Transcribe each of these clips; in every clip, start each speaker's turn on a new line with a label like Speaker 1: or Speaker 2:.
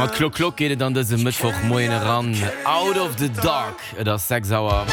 Speaker 1: mat Klock Klock geet et an dësem Mëttwochmoien eran. Out of the Dark, et ass 6 Auer.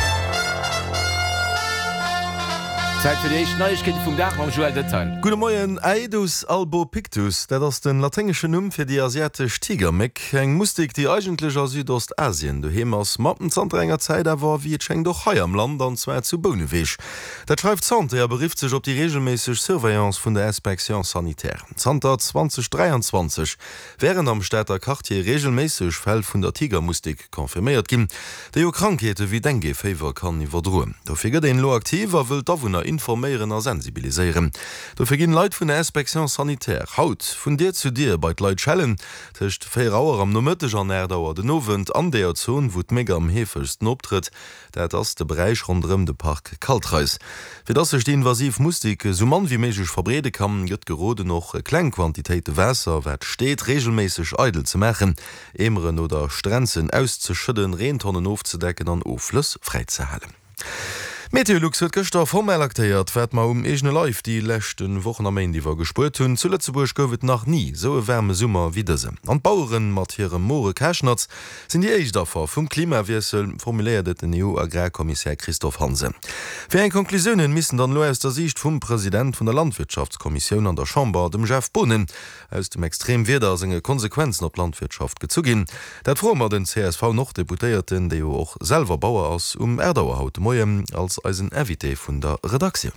Speaker 1: Zäit fir déi éischt Neiegkeete vum Dag mam Joël Detail.
Speaker 2: Gudde Moien. Aedus albopictus, dat ass den laténgeschen Numm fir déi asiatesch Tigerméck, eng Mustik, déi eigentlech a Südostasien doheem ass, ma zanter enger Zäit awer, wéi et schéngt, och hei am Land, an zwar zu Bouneweg. Dat schreift d'Santé a berifft sech op déi reegelméisseg Surveillance vun der Inspection sanitaire. Zanter 2023 wären am Stater Quartier reegelméisseg Fäll vun der Tigermustik confirméiert ginn, déi jo Krankheete wéi Dengue-Féiwer kann iwwerdroen. Dofir gëtt een elo aktiv a wëll d'Awunner informéieren a sensibiliséieren. Dofir ginn Leit vun der Inspection sanitaire haut vun Dier zu Dier bei d'Leit schellen, tëscht 4 Auer am Nomëtteg an 8 Auer den Owend an deeër Zon, wou d'Méck am heefegsten optrëtt. Dat ass de Beräich ronderëm de Park Kaltreis. Fir dass sech déi invasiv Mustik esou mann wéi méiglech verbreede kann, gëtt geroden och kleng Quantitéite Waasser, wat steet, reegelméisseg eidel ze maachen, Eemeren oder Strenzen auszeschëdden, Reentonnen ofzedecken an Offlëss fräizehalen. Meteolux huet gëschter formell aktéiert, wat mer um eegene Leif déi leschte Wochen a Méint iwwer gespuert hunn, Zu Lëtzebuerg gouf et nach ni esou e waarme Summer wéi dësen. An d'Baueren mat hirem more Kaschnatz Sinn déi éischt Affer vum Klimawiessel, formuléiert et den EU-Agrarkommissär Christophe Hansen. Wéi eng Conclusiounen missten dann elo aus der Siicht vum President vun der Landwirtschaftskommissioun an der Chamber, dem Jeff Boonen, aus dem Extremwieder a senge Konsequenzen op d'Landwirtschaft gezu ginn? Dat froe mer den CSV-Norddeputéierten, dee jo och selwer Bauer ass, um 8 Auer haut de Moien als eisen Invité vun der Redaktioun.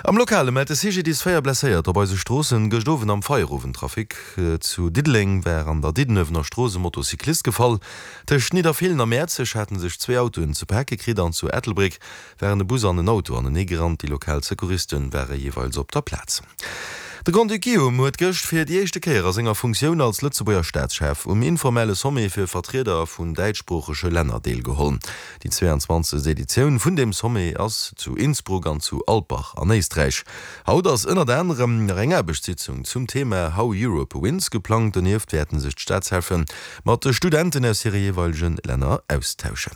Speaker 2: Am Lokale mellt de CGDIS 4 Blesséierter op eise Stroossen. Gëscht Owend am Feierowendtrafic zu Diddeleng war an der Diddenuewener Strooss e Motocyclist gefall. Tëscht Nidderfeelen a Mäerzeg hate sech zwee Autoen ze pake kritt an zu Ettelbréck waren e Bus an en Auto anenee gerannt. Déi lokal Secouriste ware jeeweils op der Plaz. De Grand-Duc Guillaume huet gëscht fir déi éischte Kéier a senger Funktioun als Lëtzebuerger Staatschef um informelle Sommet fir Vertrieder vun däitschsproochege Länner deelgeholl. Déi 22. Editioun vun deem Sommet ass zu Innsbruck an zu Alpbach an Éisträich. Haut ass ënnert anerem nach eng Aarbechtssitzung zum Thema How Europe Wins geplangt. Donieft wäerten sech d'Staatscheffe mat de Studenten aus hire jeeweilege Länner austauschen.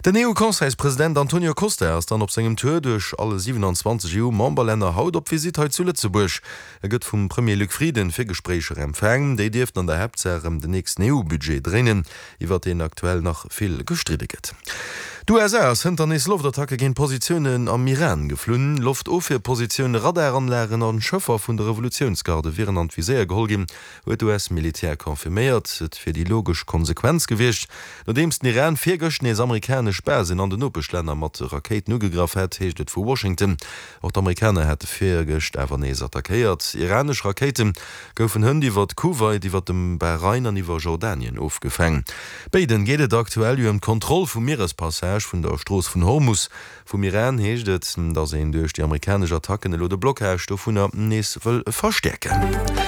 Speaker 2: Den EU-Conseilspresident Antonio Costa ass dann op sengem Tour duerch alle 27 EU-Memberlänner haut op Visitt hei zu Lëtzebuerg. E gëtt vum Premier Luc Frieden fir Gespréicher empfaang. Déi dierften an der Haaptsaach ëm den nächsten EU-Budget dréinen, iwwer deen aktuell nach vill gestridde gëtt. D'USA ass hënter nees Loftattacke géint Positiounen am Iran geflunn. Loftofwierpositioune, Radaranlagen a Schëffer vun de Revolutiounsgarde wieren an d'Viséier geholl ginn, huet d'US-Militär confirméiert. Et wier déi logesch Konsequenz gewiescht, nodeems den Iran virgëscht nees amerikanesch Basen an den Nopeschlänner mat Rakéiten ugegraff hätt, heescht et vu Washington. Och d'Amerikaner hate virgëscht awer nees attackéiert. Iranesch Rakéite goufen hënt iwwer Kuwait, iwwer dem Bahrain an iwwer Jordanien ofgefaang. Béiden geet et aktuell jo ëm d'Kontroll vum Mierespassage vun der Strooss vun Hormus. Vum Iran heescht et, datt een duerch déi amerikanesch Attacken elo de Blockage dovunner nees wëll verstäerken.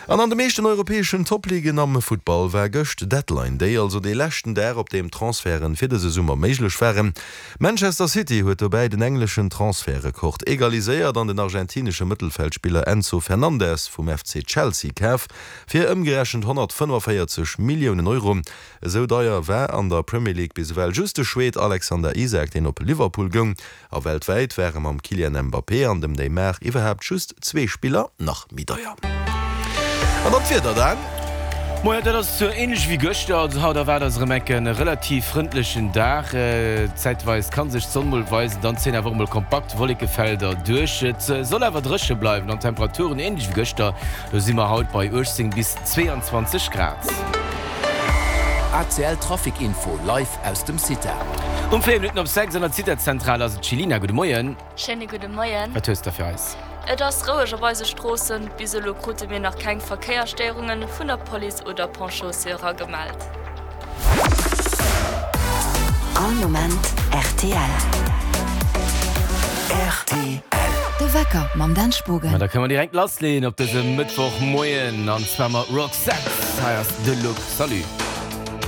Speaker 2: An an de meeschten europäeschen Topligen am Futtball war gëscht Deadline Day, also dee leschten Dag, op deem Transferten fir dëse Summer méiglech waren. Manchester City huet dobäi den engleschen Transfertrekord egaliséiert an den argentinesche Mëttelfeldspiller Enzo Fernandez vum FC Chelsea kaf fir ëmgerechent 145 Milliounen Euro. Esou deier war an der Premier League bis ewell just de Schweed Alexander Isak, deen op Liverpool goung. A weltwäit ware mam Kylian Mbappé an dem Neymar iwwerhaapt just zwee Spiller nach méi deier. An dann d'Wieder, Dan.
Speaker 1: Moien, dat ass sou ähnlech wéi gëschter. Also haut erwaart eis erëm enk e relativ frëndlechen Dag. Zäitweis kann sech d'Sonn mol weisen, dann zéien awer och mol kompakt Wollekefelder duerch. Et soll awer dréche bleiwen an d'Temperaturen ähnlech wéi gëschter, do si mer haut bei 18 bis 22 Grad.
Speaker 3: ACL Trafic Info live aus dem CITA.
Speaker 1: Um 4 Minutten op 6 an der CITA-Zentral ass et d'Chelina. Gudde Moien.
Speaker 4: Schéine gudde Moien.
Speaker 1: Wat hues de fir eis?
Speaker 4: Et ass roueg op eise Stroossen. Bis elo krute mir nach keng Verkéiersstéierunge vun der Police oder Ponts-Chaussées eragemellt.
Speaker 5: All Moment rtl.
Speaker 3: Rtl.
Speaker 5: De Wecker mam Dan Spogen.
Speaker 1: Ma da kënne mer direkt lassleeën op dësem Mëttwochmoien an zwar mat Roxette. Hei ass De Look. Salut.